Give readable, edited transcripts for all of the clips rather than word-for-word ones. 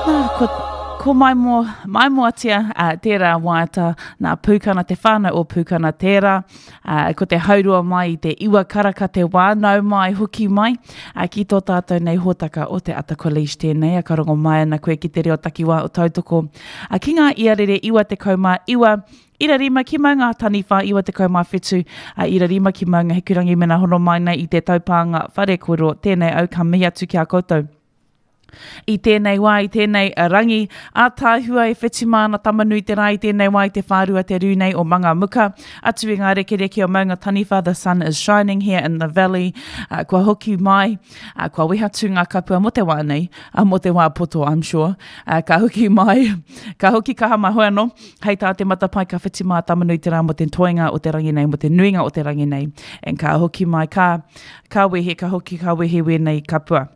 Nā, ko, ko Maimo, Maimoatia uh, tērā waiata, nā Pūkana, te whānau o Pūkana tērā, uh, ko te haurua mai i te iwa karaka te wā, nau mai, hoki mai, uh, ki tō tātou nei hōtaka o te Ata College tēnei, a ka rongo mai ana koe ki te reo takiwā o Tautoko, uh, ki ngā iarere iwa te kaumā iwa, Ira rima ki maunga taniwha 97 a ira rima ki maunga hikurangi mena hono mai nei i te taupānga whare kōrero tēnei au ka mihi atu ki a koutou. I tēnei wā, i tēnei rangi, ātaahua e whetima ana Tamanui te rā i tēnei wā i te whārua te rū nei o Mangamuka, atu i ngā rekereke o Maunga Taniwha, the sun is shining here in the valley, uh, kua hoki mai, uh, kua wehatu ngā kapua mō te wā nei, uh, mō te wā poto, I'm sure, uh, ka hoki mai, ka hoki kaha mai, hoi anō, hei tā te matapae ka whiti mā Tamanui te rā mō te toenga o te rangi nei, mō te nuinga o te rangi nei, and ka hoki mai, ka, ka wehe, ka hoki, ka wehe wēnei kapua.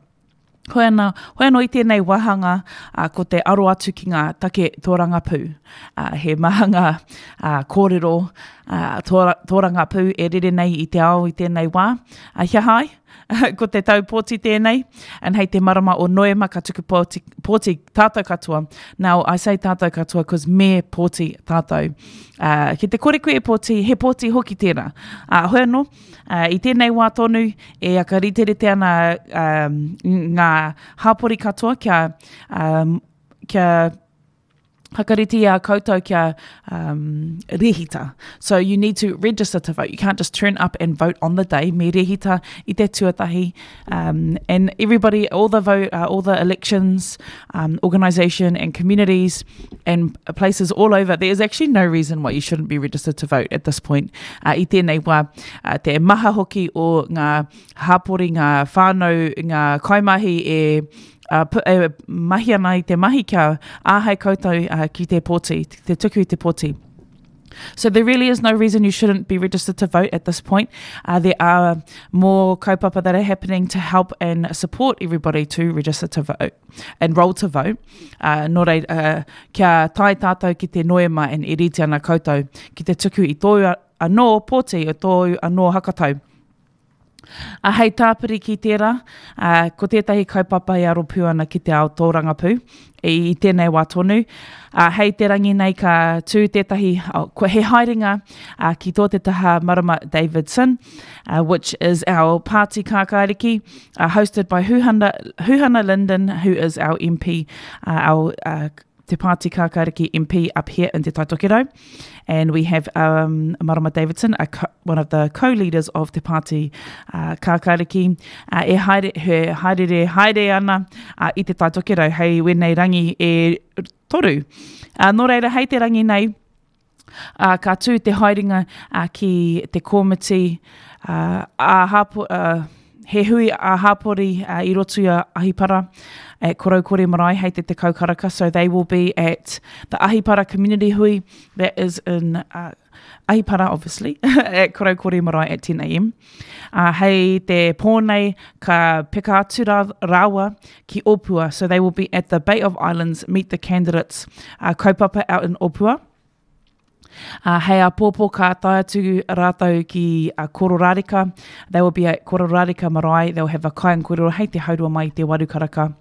Hoi ana, hoi anō i tēnei wāhanga, ā, ko te aro atu ki ngā take tōrangapū. Ā, he maha ngā ā, kōrero ā, tōra, tōrangapū e rere nei i te ao i tēnei wā. Ā, he aha ai? ko te tau pōti tēnei, and hei te marama o Noema ka tuku pōti, pōti tātou katoa. Now, I say tātou katoa cause me pōti tātou. Uh, ki te kore koe e pōti, he pōti hoki tērā. Uh, hoi anō, uh, i tēnei wā tonu, e akariterite ana um, ngā hāpori katoa kia, um, kia Hakarite i a koutou kia um, rehita. So you need to register to vote. You can't just turn up and vote on the day. Me rehita i te tuatahi. Um, and everybody, all the vote, uh, all the elections, um, organisation and communities and places all over, there is actually no reason why you shouldn't be registered to vote at this point. Uh, I tēnei wā, uh, te maha hoki o ngā hāpori, ngā whānau, ngā kaimahi e uh, e mahi ana i te mahi kia āhei koutou uh, ki te pōti, te tuku i te pōti. So there really is no reason you shouldn't be registered to vote at this point. Uh, there are more kaupapa that are happening to help and support everybody to register to vote and roll to vote. Uh, nō reira, uh, kia tae tātou ki te noema and e rite ana koutou ki te tuku i tōu anō pōti, i tōu anō hakatau. Ā, hei tāpiri ki tērā, ā, ko tētahi kaupapa e aro pū ana ki te ao tōrangapū i, i tēnei wā tonu. Ā, hei te rangi nei ka tū tētahi, oh, ko, he haerenga ā, ki tō te taha Marama Davidson, uh, which is our party kākāriki, uh, hosted by Huhana, Huhana Lyndon, who is our MP, uh, our uh, Te Pāti Kākāriki MP up here in Te Tai Tokerau. And we have um, Marama Davidson, a co one of the co-leaders of Te Pāti uh, Kākāriki, uh, e haere, he haerere haere ana uh, i Te Tai Tokerau hei wēnei rangi e toru. Uh, nō reira, hei te rangi nei, Ā, ka tū te haerenga ā, ki te kōmiti ā, ā-hāpo, ā, he hui ā-hāpori ā, i roto i a Ahipara at Koroukore Marae hei te 10 karaka. So they will be at the Ahipara Community Hui that is in uh, Ahipara, obviously, at Koroukore Marae at 10am. Uh, hei te pō nei, ka peka atu rā, rāua ki Opua. So they will be at the Bay of Islands Meet the Candidates uh, kaupapa out in Opua. Uh, hei āpōpō ka tae atu rātou ki uh, Kororareka. They will be at Kororareka Marae. They'll have a kai and kōrero hei te haurua mai i te waru karaka.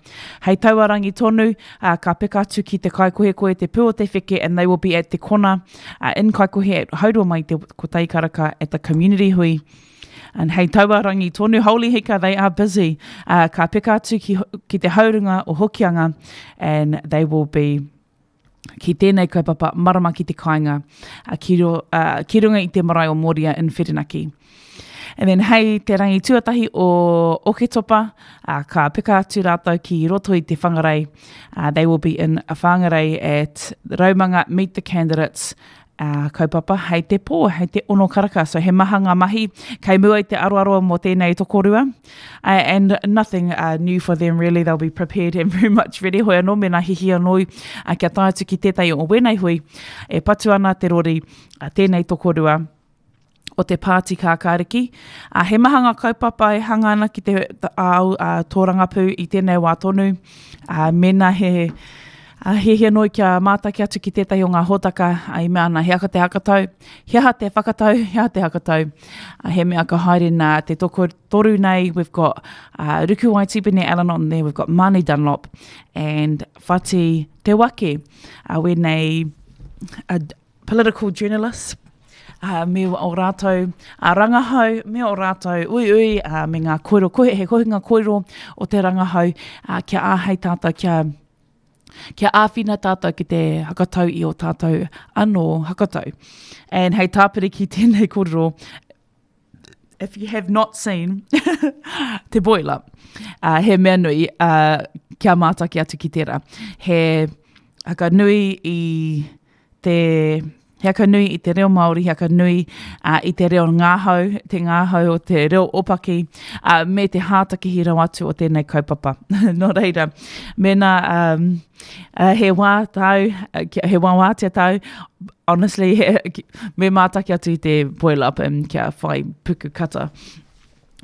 Hei taua rangi tonu, uh, ka peka atu ki te kaikohekohe te pū o te wheke and they will be at Te Kona uh, in Kaikohe at haurua mai i te kotahi karaka at the community hui. And hei taua rangi tonu, holy hika, they are busy. Uh, ka peka atu ki, ki te haurunga o Hokianga and they will be ki tēnei kaupapa marama ki te kāinga, ki, ro, uh, ki runga i te marae o Moria in Whirinaki. And then hei te rangi tuatahi o Oketopa, uh, ka peka atu rātou ki roto i te Whangarei. Uh, they will be in Whangarei at Raumanga Meet the Candidates uh, kaupapa hei te pō, hei te ono karaka. So he maha ngā mahi kei mua i te aroaro mō tēnei tokorua. Uh, and nothing uh, new for them really, they'll be prepared and very much ready. Hoi anō, mēnā hihi anō uh, kia tae atu ki tētahi o wēnei hui, e patu ana te rori uh, tēnei tokorua o te pāti kākāriki. Uh, he maha ngā kaupapa e hanga ana ki te ao uh, tōrangapū i tēnei wā tonu. Uh, mēnā he... Hiahia noi kia mātaki atu ki tētahi o ngā hōtaka i mea ana he aka te hakatau, he aha te whakatau, he aha te hakatau. He mea ka haere nā te toko toru nei, we've got uh, Rukuwai Tipene Allen on there, we've got Mani Dunlop and Whati Te Wake. Uh, wēnei uh, political journalists, uh, me o rātou uh, rangahau, me o rātou uiui, uh, me ngā kōrero, kohe, he kohinga kōrero o te rangahau, uh, kia āhei tātou, kia, kia āwhina tātou ki te hakatau i o tātou anō hakatau. And hei tāpiri ki tēnei kōrero, if you have not seen te boil up, uh, he mea nui uh, kia mātaki atu ki tērā. He haka nui i te he aka nui i te reo Māori, he aka nui uh, i te reo ngāhau, te ngāhau o te reo opaki, uh, me te hātakihi rawa atu o tēnei kaupapa. Nō reira, mēnā um, uh, he wā tāu, he wā wātea tāu, honestly, he, me mātaki atu i te boil up and kia whai puku kata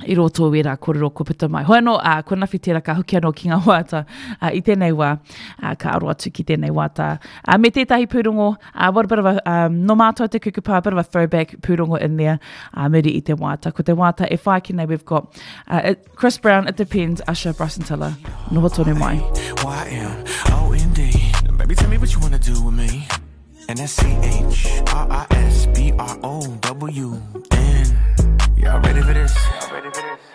i roto i wērā kōrero kua puta mai. Hoi anō, ā, kua nawhi tērā ka hoki anō ki ngā wāta ā, i tēnei wā, ā, ka aro atu ki tēnei wāta. Ā, me tētahi pūrongo, ā, what a bit of a, um, nō mātou te kukupa, a bit of a throwback pūrongo in there, ā, muri i te wāta. Ko te wāta e whai ake nei, we've got uh, it, Chris Brown, It Depends, Usher, Bryson Tiller. Noho tonu mai. Y-M-O-N-D. Baby, tell me what you wanna do with me. And that's C-H-R-I-S-B-R-O-W-N. Y'all ready for this? Y'all ready for this?